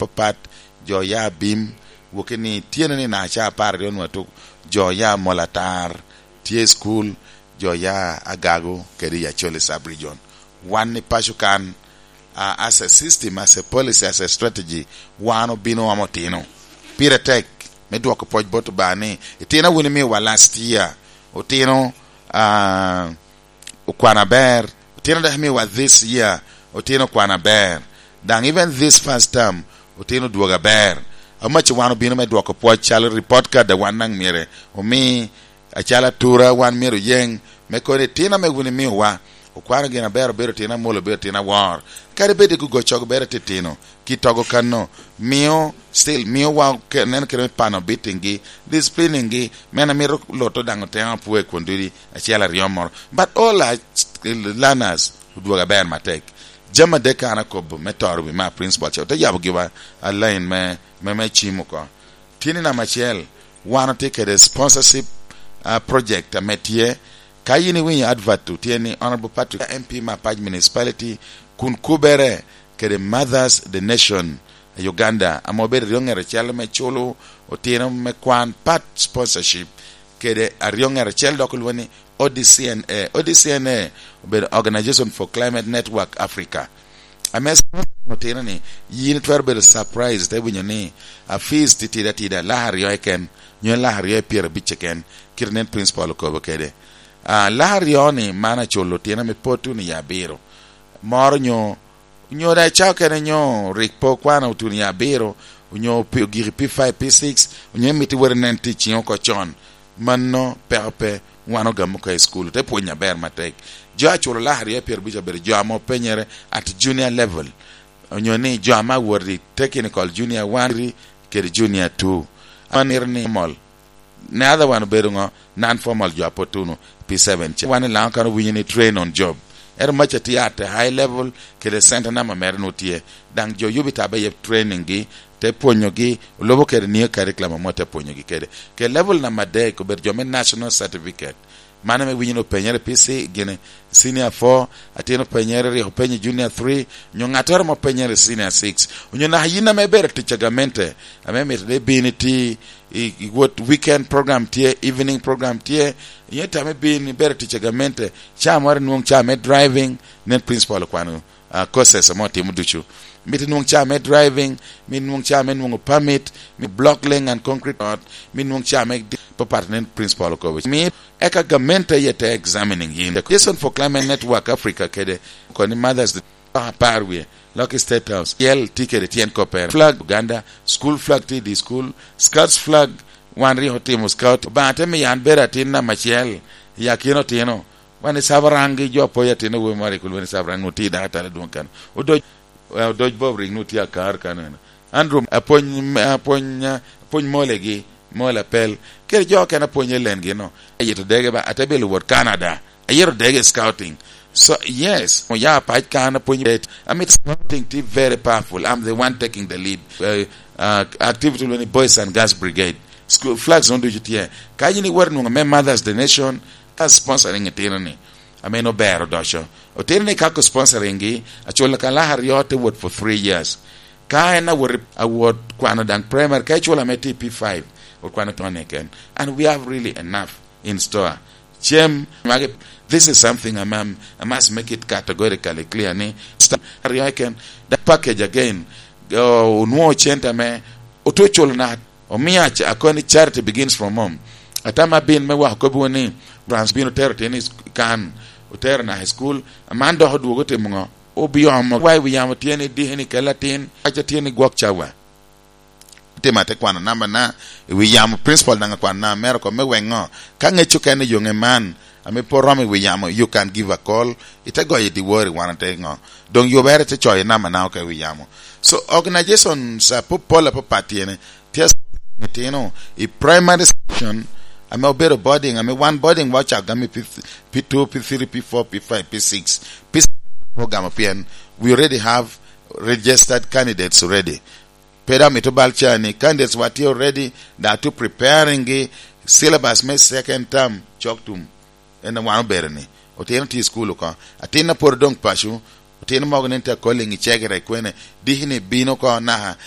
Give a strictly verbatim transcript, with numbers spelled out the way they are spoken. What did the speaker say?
papat, jo ya Abim, woki ni tyene ni na ca apar aryo nwa tuk, jo ya Molatar, tye i school, jo ya Agago, kede i Acholi sub-region. Wan i paco kan, ah, as a system, as a policy, as a strategy, wan obino omo otino. Pire tek me dwoko pwoc bot Obaŋa ni, "Itino wun imiowa last year, otino, ah, okwan aber, otino dok imiowa this year, otino okwan aber. Daŋ even this first term, otino odwogo aber." Amaci wan obino me dwoko pwoc calo report card a wan daŋ myero omi, acalo atura wan myero oyeŋ, me kono itino ame wun imiowa, okwano gin aber, obedo tino amol, obedo tino awor. Kadi bed i gugo cog bere titino, ki togo kano, mio, still, mio wa ke-, neno kede me pano beating-gi, disciplining-gi, men amito loto daŋ oteno apwoyo i kun dudi acel aryo moro. But all our learners odwogo aber matek. Jami adek an akobo me toro wi ma principal ca, ote yabo giwa a line me, me, me cim oko. Tye ni namba acel, wan otye kede sponsorship, ah, project ame tye. Ka yin iwinyo advert-tu, tye ni Honorable Patrick, M P me Apac Municipality, kun kubere kede Mothers the Nation Uganda, ame obedo aryo ŋer acel me culo otino me kwan part sponsorship, kede aryo ŋer acel dok olwongo ni O D C N A. O D C N A obedo Organization for Climate Network Africa. Ame otino ni, yin itwero bedo surprise, te winyo ni, a fees titidi atida, lak aryo keken, nyo lak aryo i pyerabicce keken, kite nen principal okobo kede. Ah, lak aryo ni man aculo otino ame pwod tuno i abiro. Moro nyo, nyo da icao kene nyo rik pe okwano otuno i abiro, onyo pi-, ogiki P five, P six, onyo imito iwot inen tic ciŋ oko con. Mano peko pe, wan ogamo ka i school, te pwony aber matek. Jo aculo lak aryo i pyerabicce obedo jo ame openyere at junior level, onyo ni jo ame awot i technical junior one kede junior two. An mito ni formal. Ne other one obedo ŋo? Non formal, jo a pwod tuno P seven ca. Wan i Laŋo kan owinyo ni train on job. Ento maca tye at a high level, kede center number mere nwoŋo tye. Daŋ jo yubo i taba iye training gi, te pwonyogi, olubo kede nio curriculum ame te pwonyogi kede. Ke level number adek obedo jo me national certificate. Mano ame winyo ni openyere P C, gini, senior four, atin openyere, rik openyo junior three, onyo ŋattoro ame openyere senior six. Onyo naka yin ame ibedo tic a gamente, ame mito ni ibin iti, i, i wot weekend program tye, evening program tye, yin tame ibin ibedo tic a gamente, ca moro inwoŋ ca me driving, nen principal okwano, ah, courses ame otimo ducu. Mito inwoŋ ca me driving, mito inwoŋ ca me nwoŋo permit, me block laying and concrete ot, mito inwoŋ ca me di-, papat nen principal okobo. Mi eka gamente aye te examining yin. The Coalition for Climate Network Africa kede koni Mothers Day, apar wie, Lucky State House, yel tye kede tyen koppere. Flag Uganda, school flag tye i di school, Scouts flag, wan rik otimo scout. Obaŋa te miyo an bedo atin namba acel i akina otino. Wan i Sabarangi jo apoyo atin awobi moro rik olwongo ni Sabarangi, nwoŋo tye i dako atala dwoŋ kan. Odoc, eh, Odoc Bob rik nwoŋo tye akar kan eno. Andrew apwony, apwony, apwony molegi, mol apel. Kede jo okene apwonyo lengi no. Ayito dege ba, ate bilo wot Canada. Ayito dege scouting. So, yes, oya pac kan apwonyo bet. I mean, scouting tye very powerful. I'm the one taking the lead. Uh, uh, activity ni Boys and Girls Brigade. School flags on ducu tye. Ka yin iwot nwoŋo me Mothers the Nation, ka sponsoring itino ni. Ame en obero odoco. Otino ni ka ko sponsoring gi, aculo ka lak aryo te wot for three years. Ka en awot, awot kwano daŋ primary, ka iculo ame tye i P five, okwano tone ken. And we have really enough in store. Cem, magi, this is something I'm, I'm, I must make it categorically clear ni, sta-, aryo ken, the package again, oh, onwoŋo cente ame, otu culo na, omiyo ac-, akoni charity begins from home. Atama bin me wako kobbi ni, Frans bino tero tini kan, otero na i school, aman dok odwogo timo ŋo? Obiomo wa i wi yamo tye ni diki ni kel atin, paco tye ni gwok cawa. Tim ate kwano namba na, i wi yamo principal daŋ akwano namba mere oko me weŋo. Ka ŋec okene yoŋe man, ame pe oromo i wi yamo, you can give a call, ite goyo i diwori wan ate ŋo. Doŋ yubere te coyo namba na oko i wi yamo. So, organizations, uh, ap-, pol apapat tye ni, tye itino i primary section, ame obedo boarding, ame wan boarding wa ocako gamo i P, P two, P three, P four, P five, P six. P six program pien we already have registered candidates already. Pe dok mito bal ca ni candidates wa tye already, da to preparing gi syllabus me second term cok tum. En wan obedo ni, otino tye i school oko. Atin a pwod odong paco, otino mogo nen te calling i cegere kwene, diki ni bino oko naka,